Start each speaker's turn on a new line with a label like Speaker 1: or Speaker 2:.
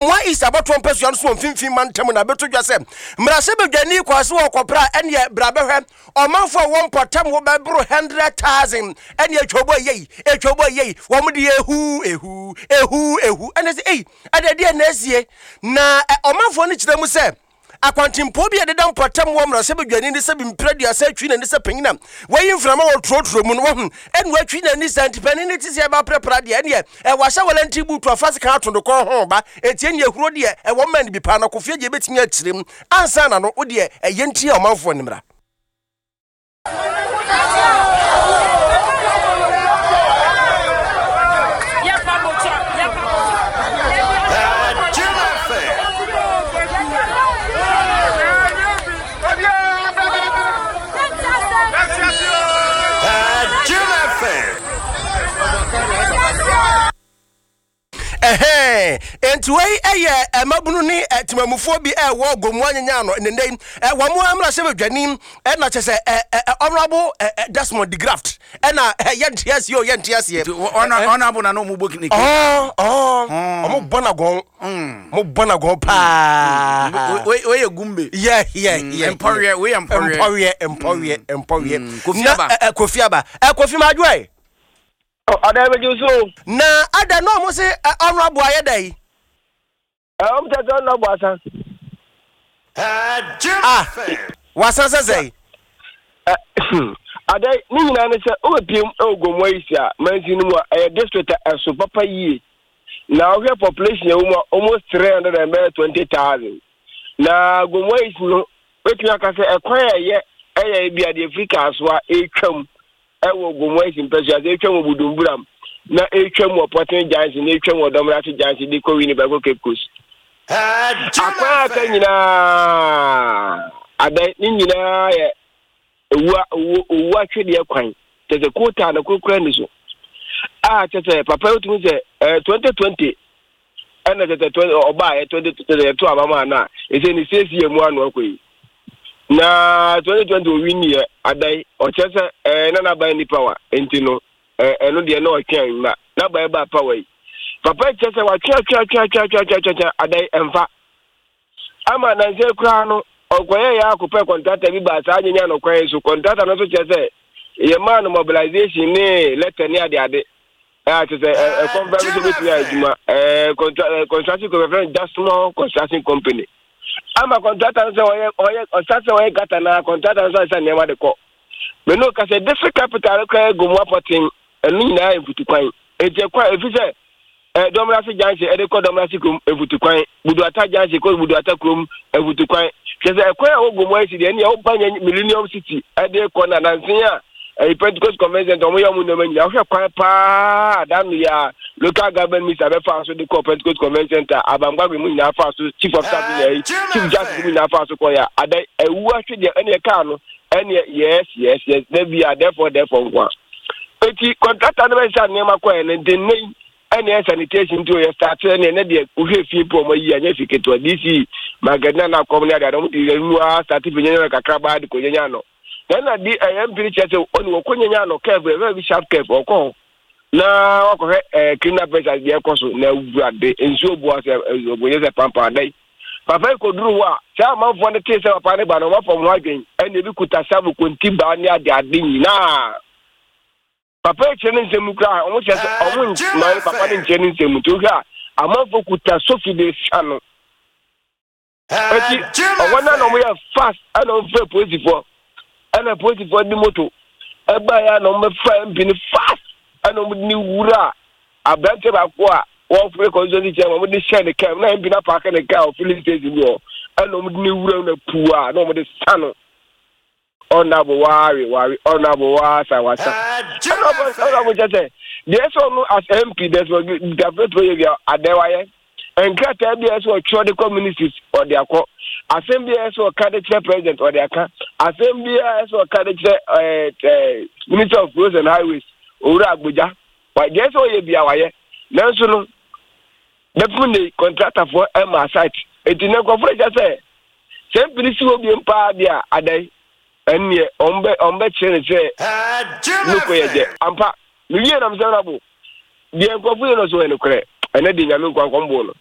Speaker 1: Gomoa East abatoɔ mpasua no so wɔ mfimfini mantam na abɛto dwa sɛ mmarahyɛbadwani Kwasi Ɔkɔprɛ a ɛneɛ bra bɛhwɛ ɔmanfoɔ a wɔn mpɔtam wɔ bɛboro 100,000 ɛneɛ twɛbɔ yei ɛtwɛbɔ yei wɔn de ehu ehu ehu ehu ɛne sɛ ei ɛdeɛ deɛ na asie na ɔmanfoɔ no kyerɛ mu sɛ Akwantempɔn bi a ɛdeda mpɔtam wɔ mmarahyɛbadwani ne sɛ mprɛ aduasa atwi n'ani sɛ panyin a wayi mframa wɔ torotoro mu no wahu ɛna watwi n'ani saa nti panin no te sɛ ɛba prɛprɛ deɛ ɛneɛ ɛwɔ ahyɛ wɔlɛnti buutu afa sekan ato no kɔn ho ba enti ɛneɛ ahuro deɛ ɛwɔ mma no bi paa na kofie deɛ ɛbɛtumi akyerɛ mu ansa na no wo deɛ ɛyɛ nti a ɔmanfoɔ no mmra. Ɛhɛn, enti wei yɛ mmabunu ne temamufoɔ bi ɛwɔ Gomoa nyanya ano nnɛ yi. Wɔn mmarahyɛbadwani ɛna kyɛ sɛ Honourable Desmond de Graft ɛna yɛnte aseɛ o yɛnte aseɛ.
Speaker 2: Honourable na na wɔn bɔ ne ke.
Speaker 1: Ɔɔ wɔn bɔ n'agɔn. Wɔn bɔ n'agɔn paa.
Speaker 2: Wei yɛ gumbe.
Speaker 1: Yɛ yɛ yɛ.
Speaker 2: Mpɔweɛ wei yɛ mpɔweɛ.
Speaker 1: Mpɔweɛ mpɔweɛ mpɔweɛ.
Speaker 2: Kofi aba.
Speaker 1: Kofi aba. Kofi ma adwoɛ.
Speaker 3: Ada ɛbɛgye so.
Speaker 1: Na ada na ɔmo se honourable ayɛ dɛ yi.
Speaker 3: Ɔmo kyɛ sɛ honourable asa.
Speaker 1: Ah, wasan sɛ sɛ.
Speaker 3: Ada ne nyinaa ne sɛ wobɛpiem ɛwɔ Gomoa East a mansin no mu a ɛyɛ district a ɛso papa yie. Na wohwɛ population ɛwɔ mu a almost 320,000. Na Gomoa East no wobɛtumi aka sɛ ɛkwan a ɛyɛ ɛyɛ ebi a deɛ ɛfiri Kasoa ɛretwam ɛwɔ Gomoa East mpɛsua sɛ ɛtwam wɔ Budumburam na ɛtwam wɔ Pɔten Junction na ɛtwam wɔ Dɔmrase Junction de kɔ Winneba kɔ Cape Coast. Akwan aka nyinaa adan ne nyinaa yɛ owua owu owu atwedeɛ kwan kyɛ sɛ kootaa no korokora ni so a kyɛ sɛ papa yi tumi sɛ ɛɛ 2020 ɛna kyɛ sɛ 20 ɔbaa yɛ 2020 yɛto aba maa no a ɛsɛ ne siesie mu ano akɔ yi na 2020 owi nniɛ adan ɔkyerɛ sɛ ɛɛ na n'aban ni power nti no ɛɛ ɛno deɛ na ɔtwɛn ma n'aban ba power yi papa kyerɛ sɛ watwe atwe atwe atwe atwe atwe atwe atwe adan ɛmfa ama nansa koraa no ɔkɔyɛ yɛ akɔpɛ kɔntrata bi baa saa nyanya no kwan so kɔntrata no nso kyerɛ sɛ yɛ maa no mobilization ne letter ne ade ade ɛɛ kyerɛ sɛ ɛkɔmfɛm nso bɛtumi ayɛ adwuma ɛɛ construction company fɛn Jasmine construction company ama kɔntrata no sɛ ɔyɛ ɔyɛ ɔsa sɛ ɔyɛ gata na kɔntrata no sɛ ɔsɛ nneɛma de kɔ mɛ no kasa district capital no koraa gu mu apɔten ɛno nyinaa yɛ mfutukwan eti ɛkwan efi sɛ ɛ dɔmrase junction ɛde kɔ dɔmrase kurom mfutukwan buduata junction kɔ buduata kurom mfutukwan kyerɛ sɛ ɛkwan a wɔgu mu ayɛ si deɛ ɛne ɛwoba nyɛ millennium city ɛde kɔ na nansen a ɛyi pentecost convention wɔn yɛ wɔn nneɛma nyinaa wohwɛ kwan paa da no yɛ a local government minister bɛfa so de kɔ pentecost convention center abamgbagbe mu nyinaa fa so chief of staff nyinaa yi chief justice mu nyinaa fa so kɔ yɛ ada ewu ahwɛ deɛ ɛne ɛkaa no ɛne yes yes yes na bi a therefore therefore nko a eti contractor no bɛsa nneɛma kɔ yɛ no nti nne yi ɛne ɛ sanitation nti oyɛ start ɛne ɛnɛ deɛ wohwɛ fie po ɔmo ayi anyɛ fi ketewa dc magadina na akɔm ne adeade ɔmo de mu a start fi nyanya kakra baa de kɔ nyanya no na na di ɛyɛ mpiri kyerɛ sɛ ɔne wɔkɔ nyanya no curve ɛfɛ bi sharp curve ɔkɔ hɔ na wakɔhwɛ ɛɛ criminal pressure deɛ ɛkɔ so na awurade nsuo bu asɛ ɛbonyɛ sɛ pampan adan papa yi kɔduru hɔ a saa amanfoɔ no tee sɛ papa no ba no wɔafa wɔn ho adwen ɛna ebi kuta sabo konti baa ne ade ade nyinaa papa yi kyerɛ ne nsɛm mu koraa wɔn kyerɛ sɛ wɔn mma papa no nkyerɛ ne nsɛm mu nti wohwɛ a amanfoɔ kuta sofi de sa no Eti ɔwɔ na na wɔyɛ fast ɛna wɔn fɛ polisifoɔ ɛna polisifoɔ de moto ɛba yɛ na wɔn bɛfa mp no fast ɛna wɔn de ne wura aberante baako a wɔfrɛ constituency chairman wɔn de hyɛ ne kaa mu na mp no apaake ne kaa wɔ filling station bi hɔ ɛna wɔn de ne wura na puu a na wɔn de sa no. Ɔnabo wawe wawe ɔnabo wasa wasa. Ɛna ɔnabo kyɛ sɛ deɛ ɛsɛ ɔno as MP desmond dafeto yɛ bia adɛ wayɛ. Nkrataa bi a ɛsɛ ɔtwerɛ de kɔ ministries ɔde akɔ. Asɛm bi a ɛsɛ ɔka de kyerɛ president ɔde aka. Asɛm bi a ɛsɛ ɔka de kyerɛ ɛɛ ɛɛ minister of roads and highways owura Agbogya. Deɛ ɛsɛ ɔyɛ bia wayɛ. Nanso no bɛpem ne kɔntratafoɔ ɛma site. Eti ne nkurɔfoɔ kyɛ sɛ Sɛ mpene si hɔ biom paa deɛ a, adɛn? Ɛnneɛ wɔn bɛkyerɛ no sɛ noko yɛ gyɛ. Ampa, mewie na mesɛ Honourable, deɛ nkurɔfo yɛ no so yɛ nokorɛ. Ɛnɛ deɛ Nyame nkoa nkɔm boo no.